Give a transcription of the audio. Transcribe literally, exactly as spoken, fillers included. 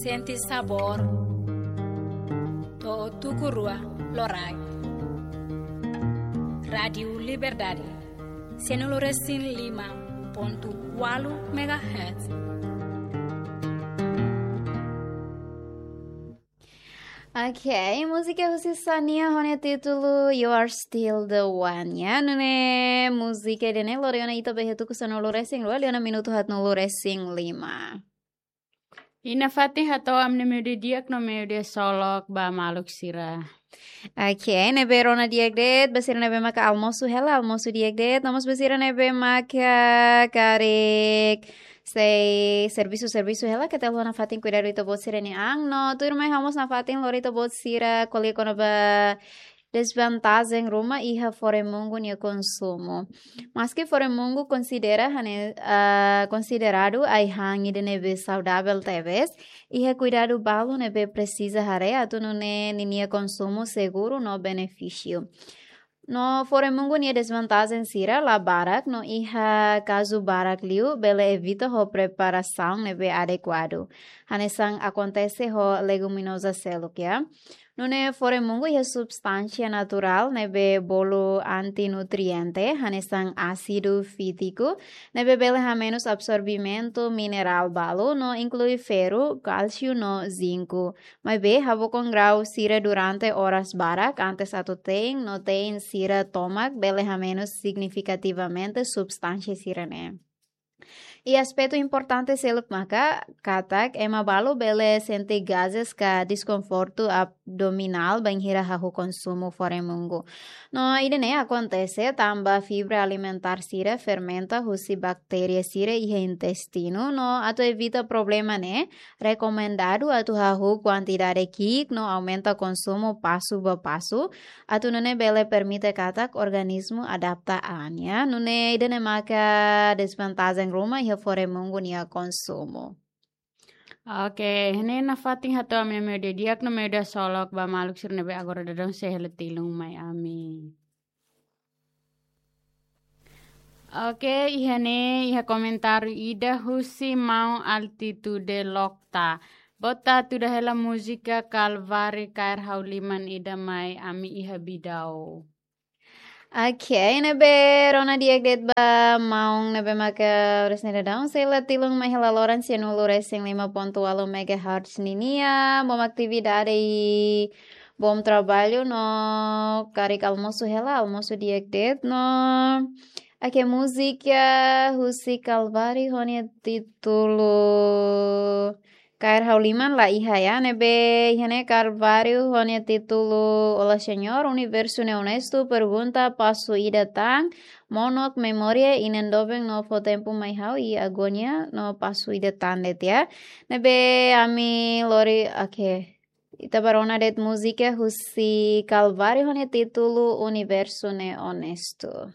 Sente sabór. To'o tuku rua loraik. Rádiu Liberdade. Sanulu resin lima pontu ualu megahertz. Ok, múzika husi Xania ho nia títulu You Are Still the One, ya. Nune'e múzika ida-ne'e lori ona ita ba iha tuku sanulu resin rua, liu ona minutu haatnulu resin lima. I nafatin hato'o ami-nia meiudia di'ak no meiudia solok ba maluk sira. Ok, ne'ebé rona di'ak de'it, ba sira ne'ebé maka almosu hela, almosu di'ak de'it, no mós ba sira ne'ebé maka karik sei servisu, servisu hela, keta haluha nafatin kuidadu ita-boot sira-nia an, no tuirmai ha'u mós nafatin lori ita-boot sira ko'alia kona-ba desvantajen ruma iha foremungu nia konsumu. Maski foremungu konsidera hane, ah, konsideradu ai-han ida ne'ebé saudavel tebes, iha kuidadu balu ne'ebé presiza haree atu nune'e ninia konsumu seguru no benefísiu. No foremungu nia desvantajen sira la barak, no iha kazu barak liu bele evita ho preparasaun ne'ebé adekuadu. Hanesan akontese ho leguminoza seluk, ya. Nune'e foremungu iha substánsia naturál ne'ebé bolu antinutriente, hanesan ásidu fítiku, ne'ebé bele hamenus absorvimentu minerál balu no inklui ferru, kálsiu no zinku. Maibé, habokon grau sira durante oras barak antes atu te'in, no te'in sira tomak bele hamenus signifikativamente substánsia sira-ne'e. I aspetu importante seluk maka katak ema balu bele sente gazes ka deskonfortu abdominál bainhira hahú konsumu foremungu. No ida-ne'e akontese tanba fibra alimentár sira fermenta husi baktéria sira iha intestinu, no atu evita problema ne'e, rekomendadu atu hahú kuantidade ki'ik no aumenta konsumu pasu ba pasu, atu nune'e bele permite katak organismu adapta an, ya. Nune'e ida-ne'e maka desvantajen ruma iha foremungu nia konsumu. Ok, ne'e nafatin hato'o ami-nia meiudia di'ak no meiudia solok ba maluk sira ne'ebé agora daudaun sei hela tilun mai ami. Ok, iha ne'e, iha komentáriu ida husi maun Altitude Lokta. Boot atu tuda hela múzika Kalvari kaer ha'u liman ida mai ami iha Bidau. Ok, ne'ebé rona di'ak de'it ba maun ne'ebé maka oras ne'e daudaun sei hela tilun mai hela loron sanulu resin lima pontu ualu megahertz ninia, bom atividade i bom traballu no karik almosu hela, almosu di'ak de'it no. Ok, múzika husi Kalvari ho nia títulu Kaer Ha'u Liman la iha, ya, ne'ebé iha ne'e Kalvari ho nia títulu Olá Senhor, Universu Ne'e Onestu, pergunta pasu ida tan, monok memória i ne'ebé no fó tempu mai ha'u i agónia no pasu ida tan de'it, ya. Ne'ebé ami lori, ok. Ita bá rona de'it múzika husi Kalvari ho nia títulu Universu Ne'e Onestu.